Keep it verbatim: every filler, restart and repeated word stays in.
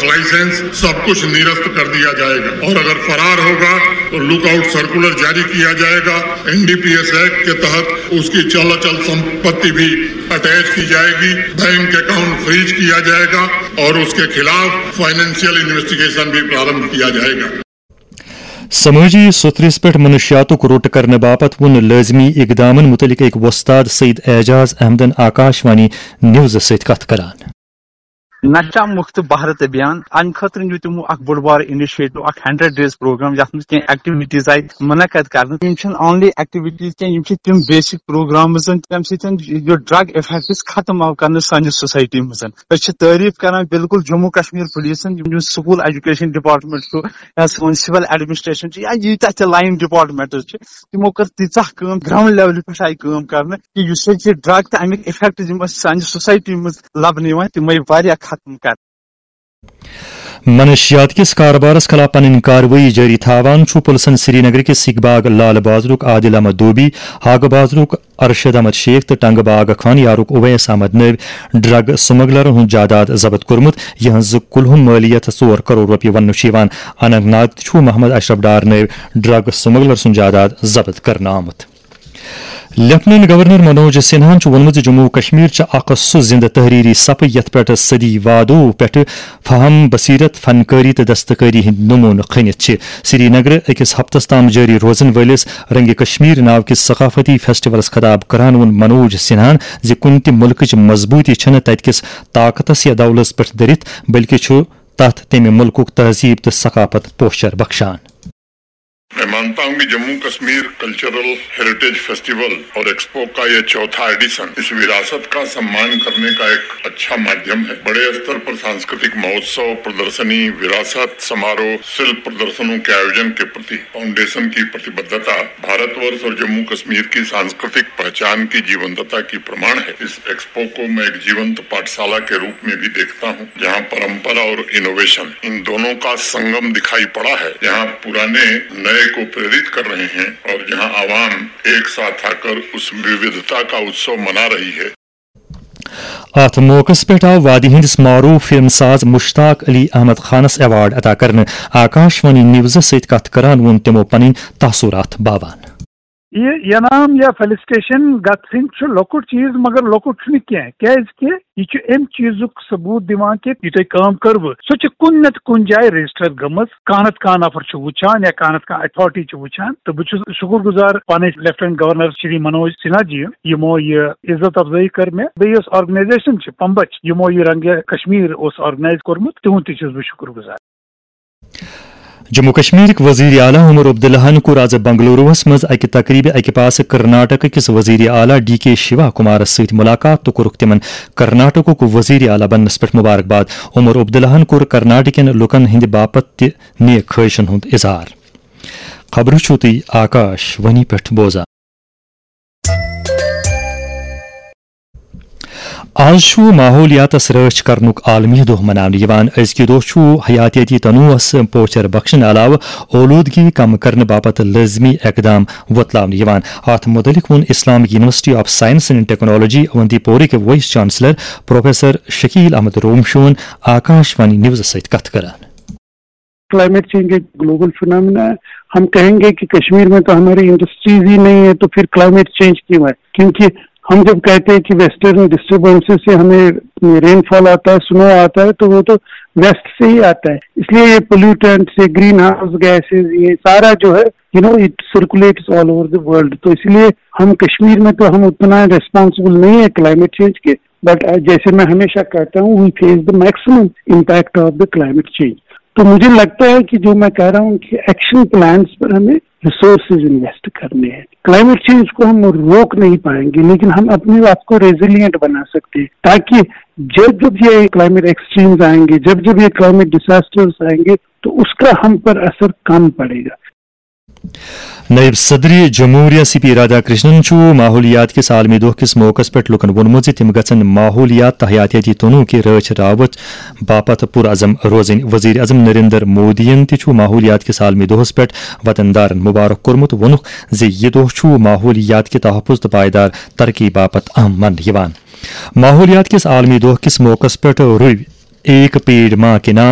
Licence, सब कुछ निरस्त कर दिया जाएगा और अगर फरार होगा तो लुकआउट सर्कुलर जारी किया जाएगा। एनडीपीएस एक्ट के तहत उसकी चल अचल संपत्ति भी अटैच की जाएगी, बैंक अकाउंट फ्रीज किया जाएगा और उसके खिलाफ फाइनेंशियल इन्वेस्टिगेशन भी प्रारंभ किया जाएगा। سمٲجی سوٚتھرِس پٮ۪ٹھ منشیاتُک روٚٹ کرنہٕ باپتھ ووٚن لٲزمی اقدامن مُتعلق أکۍ وۄستاد سعید اعجاز احمدن آکاش وانی نیوزس سۭتۍ کتھ کران۔ نشہ مکت بھارت ابھیان، امہِ خٲطرٕ نیوٗ تِمو اکھ بوٚڑ بار انیشیٹو، اکھ ہنڈریڈ ڈیز پروگرام، یتھ منٛز کینٛہہ ایکٹیویٹیز آیہِ منعقد کرنہٕ۔ یِم چھِنہٕ اونلی ایکٹیویٹیز کینٛہہ، یِم چھِ تِم بیسک پروگرامز، تمہِ سۭتۍ یہِ ڈرگ افیکٹس ختم آو کرنہٕ سانہِ سوسایٹی منٛز۔ أسۍ چھِ تعریف کران بالکل جموں کشمیر پولیسن، یِم سکول ایجوکیشن ڈپارٹمنٹ چھُ یا سون سول ایڈمنسٹریشن چھُ یا ییٖتیٛاہ تہِ لائن ڈپارٹمنٹس چھِ، تِمو کٔر تیٖژاہ کٲم، گراؤنڈ لیولہِ پٮ۪ٹھ آیہِ کٲم کرنہٕ کہِ یُس یہِ ڈرگ تہٕ امیِکۍ افیکٹ یِم اَسہِ سانہِ سوسایٹی منٛز لبنہٕ یِوان، تِم آیہِ واریاہ ختم کرنہٕ۔ منشیات کِس کاربارس خلاف پنٕنۍ کاروٲیی جٲری تھاوان چھُ پُلسن سری نگر کِس سِکھ باغ لال بازرُک عادل احمد دوبی، ہاگہٕ بازرُک ارشد احمد شیخ تہٕ ٹنگہٕ باغ خانیارُک اویس احمد نٲوۍ ڈرگ سمگلرن ہُنٛد جائیداد ضبط کوٚرمُت، یِہنٛز کُلہُم مٲلیت ژور کرور رۄپیہِ وننہٕ چھُ یِوان۔ اننت ناگ تہِ چھُ محمد اشرف ڈار نٲوۍ ڈرگ سمگلر سُنٛد جائیداد ضبط کرنہٕ آمُت۔ لیفٹیننٹ گورنر منوج سنہاہن چھُ ووٚنمُت زِ جموں و کشمیر چھِ اکھ سُہ زِندٕ تحریری صفہٕ یتھ پٮ۪ٹھ صدی وادو پٮ۪ٹھٕ فہم، بصیرت، فنکاری تہٕ دستکاری ہٕنٛدۍ نمونہٕ کھٔنِتھ چھِ۔ سری نگر أکِس ہفتس تام جٲری روزن وٲلِس رنگ کشمیر ناو کِس ثقافتی فیسٹیولس خطاب کران ووٚن منوج سنہاہن زِ کُنہِ تہِ مُلکٕچ مضبوٗطی چھَنہٕ تَتہِ کِس طاقتس یا دولس پٮ۪ٹھ دٔرِتھ، بلکہِ چھُ تَتھ تَمہِ مُلکُک تہذیٖب تہٕ ثقافت پوچھر بخشان۔ मैं मानता हूं कि Jammu Kashmir cultural heritage festival और एक्सपो का यह चौथा एडिशन इस विरासत का सम्मान करने का एक अच्छा माध्यम है। बड़े स्तर पर सांस्कृतिक महोत्सव, प्रदर्शनी, विरासत समारोह, शिल्प प्रदर्शनों के आयोजन के प्रति फाउंडेशन की प्रतिबद्धता भारतवर्ष और जम्मू कश्मीर की सांस्कृतिक पहचान की जीवंतता की प्रमाण है। इस एक्सपो को मैं एक जीवंत पाठशाला के रूप में भी देखता हूं, जहां परंपरा और इनोवेशन, इन दोनों का संगम दिखाई पड़ा है, जहां पुराने नए को प्रेरित कर रहे हैं और जहां आवाम एक साथ आकर उस विविधता का उत्सव मना रही है। اتھ موقعس پٮ۪ٹھ آو وادی ہٕنٛدِس معروٗف فلم ساز مشتاق علی احمد خانس ایوارڈ عطا کرنہٕ۔ آکاش وانی نیوزس سۭتۍ کتھ کران ووٚن تِمو پنٕنۍ تاثرات باوان۔ یہ انعام یا فیلسٹیشن گژھٕنۍ چھُ لۄکُٹ چیٖز، مگر لۄکُٹ چھُنہٕ کینٛہہ، کیازِ کہِ یہِ چھُ امہِ چیٖزُک ثبوت دِوان کہِ یہِ تۄہہِ کٲم کٔروٕ، سۄ چھِ کُنہِ نتہٕ کُنہِ جایہِ رجسٹر گٔمٕژ، کانٛہہ نتہٕ کانٛہہ نفر چھُ وٕچھان یا کانٛہہ نتہٕ کانٛہہ اتھارٹی چھِ وٕچھان۔ تہٕ بہٕ چھُس شُکر گُزار پنٕنۍ لیفٹیننٹ گورنر شری منوج سنہا جی، یِمو یہِ عزت افزٲیی کٔر مےٚ۔ بیٚیہِ یۄس آرگنایزیشن چھِ پمبچ، یِمو یہِ رنگہِ کشمیر اوس آرگنایز کوٚرمُت، تِہُنٛد تہِ چھُس بہٕ شُکر گُزار۔ جموں کشمیرٕکۍ وزیر اعلیٰ عمر عبداللہن کوٚر آز بنگلوروَس منٛز اَکہِ تقریبہِ اَکہِ پاسہٕ کرناٹک کِس وزیر اعلیٰ ڈی کے شیوا کمارَس سۭتۍ مُلاقات تہٕ کوٚرُکھ تِمَن کرناٹکُک وزیر اعلیٰ بننَس پٮ۪ٹھ مبارکباد۔ عمر عبداللہن کوٚر کرناٹکٮ۪ن لوٗکَن ہٕنٛدِ باپتھ تہِ نیک خواہشن ہُنٛد اظہار۔ خبرٕ چھِو تُہۍ آکاش وانی پٮ۪ٹھ بوزان۔ آز چھُ ماحولیاتس رٲچھ کرنُک عالمی دۄہ مناونہٕ یِوان۔ أزکہِ دۄہ چھُ حیاتیٲتی تنوعس پوچھر بخشنہٕ علاوٕ اولوٗدگی کم کرنہٕ باپتھ لٲزمی اقدام وۄتلاونہٕ یِوان۔ اتھ مُتعلق ووٚن Islamic university of science and technology اونتی پورٕکۍ vice chancellor professor Shakil Ahmad Romshoo Akashvani نیوزس سۭتۍ کتھ کران۔ کلائمیٹ چینج ایک گلوبل فنامنا ہے۔ ہم کہیں گے کہ کشمیر میں تو ہماری انڈسٹریز ہی نہیں ہے، تو پھر کلائمیٹ چینج کیوں ہے؟ کیونکہ ہم جب کہتے ہیں کہ ویسٹرن ڈسٹربنسز سے ہمیں رین فال آتا ہے، سنو آتا ہے، تو وہ تو ویسٹ سے ہی آتا ہے۔ اس لیے یہ پولوٹنٹس، یہ گرین ہاؤس گیسز، یہ سارا جو ہے، you know, it circulates all over the world. تو اس لیے ہم کشمیر میں تو ہم اتنا ریسپانسبل نہیں ہے کلائمیٹ چینج کے، بٹ جیسے میں ہمیشہ کہتا ہوں، we face the maximum impact of the climate change. تو مجھے لگتا ہے کہ جو میں کہہ رہا ہوں کہ ایکشن پلانز پر ہمیں ریسورسز انویسٹ کرنے ہیں۔ کلائمیٹ چینج کو ہم روک نہیں پائیں گے، لیکن ہم اپنے آپ کو ریزیلینٹ بنا سکتے ہیں، تاکہ جب جب یہ کلائمیٹ ایکسٹریمز آئیں گے، جب جب یہ کلائمیٹ ڈیزاسٹرز آئیں گے، تو اس کا ہم پر اثر کم پڑے گا۔ نائب صدر جمہوریہ سی پی رادھا کرشنن چھُ ماحولیات کِس عالمی دۄہ کِس موقعس پٮ۪ٹھ لوٗکَن ووٚنمُت زِ تِم گژھن ماحولیات تہٕ حیاتیٲتی تنوع کہِ رٲچھ راوَٹھ باپتھ پُرعزم روزٕنۍ۔ وزیر اعظم نریندر مودیَن تہِ چھُ ماحولیات کِس عالمی دۄہَس پٮ۪ٹھ وطن دارَن مبارک کوٚرمُت۔ ووٚنُکھ زِ یہِ دۄہ چھُ ماحولیات کہِ تحفظ تہٕ پائیدار ترقی باپتھ اہم ماننہٕ یِوان۔ ماحولیات کِس عالمی دۄہ کِس موقعس پٮ۪ٹھ روٚوۍ ایک پیڑ ماں کے نام